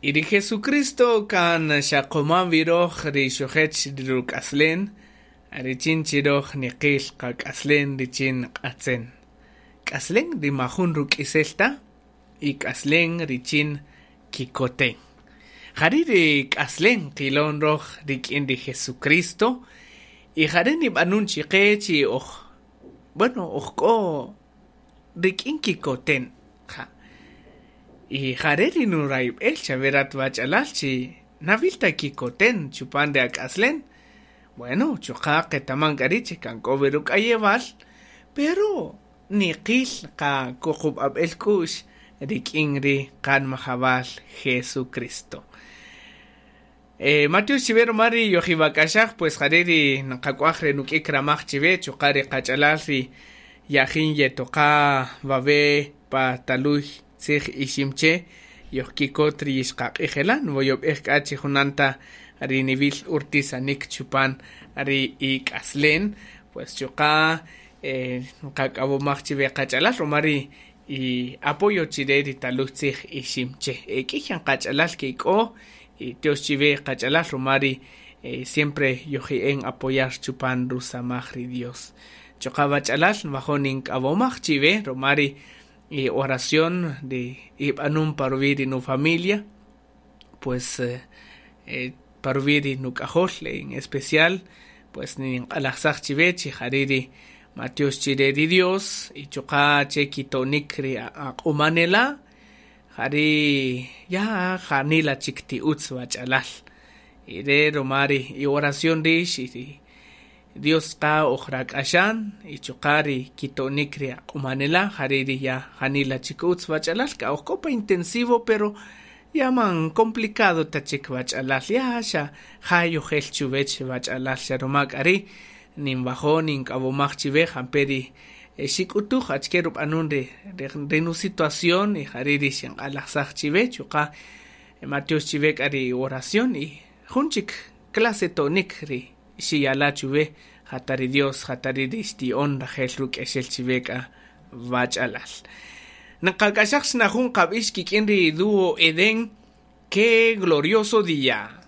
Y ri Jesucristo kan xaqoma wi roj ri xujech ri ruk'aslen, richin chi roj niqil qak'aslen richin q'atzen. K'aslen ri majun ruk'isel ta y k'aslen richin kikoten. Jari' ri k'aslen qilon roj rik'in ri Jesucristo y jari' nib'anun chiqe chi oj, bueno, oj k'o rik'in kikoten. Ja. Y jare' ri nurayb'el chawe rat wach'alal chi nawil ta kikoten chupan ri ak'aslen. Bueno, chuqa' qetaman k'a ri' chi kan k'o wi ruk'ayewal, pero niqil qa kuqub'ab'el k'u'x rik'in ri qanmajawal Jesucristo. Matyox chiwe ruma ri yojiwak'axaj, pues jare' ri nqak'waj re nuk'ik ramaj chiwe, chuqa' ri qach'alal ri yajin yetoqa wawe' pa taluy tzij Iximche, yojkikot ri yixqaq'ijelan, woyob'ej k'a chi junan ta ri niwil urtisanik chupan ri ik'aslen, pues chuqa' nqak'awomaj chiwe qach'alal ruma ri y apoyo chire ri taluy tzij Iximche. K'iy yan qach'alal kik'o y tiox chiwe qach'alal ruma ri siempre yoji'en apoyar chupan rusamaj ri Dios. Chuqa' wach'alal nwajo' nink'awomaj chiwe ruma ri oración ri ib'anun pa ruwi' ri nu-familia, pues pa ruwi' ri nuk'ajol en especial, pues ninq'alajsaj chiwe chi jari' ri matyox chire ri Dios y chuqa' che kito'nik ri aq'umanela', jari' ya janila chik ti utz wach'alal. Y re ruma ri y oración rix y ri Dios qa ojrak'axan y chuqa' ri kito'nik ri aq'umanela', jari' ri ya janila chik utz wach'alal, k'a oj k'o pa intensivo, pero ya man complicado ta chik wach'alal, ya xa ja yojel chuwech wach'alal, xa ruma k'a ri' ninwajo' nink'awomaj chiwe jampe' ri xik'utuj achike rub'anun ri ri nu-situación y jari' ri xinq'alajsaj chiwe, chuqa' matyox chiwe k'a ri oración y jun chik clase to'nik ri xiyala' chuwe, jata ri Dios, jata ri xti'on rajel ruk'exel chiwe k'a wach'alal. Nqak'axaj xna jun qab'ix kik'in ri dúo Edén, qué glorioso día.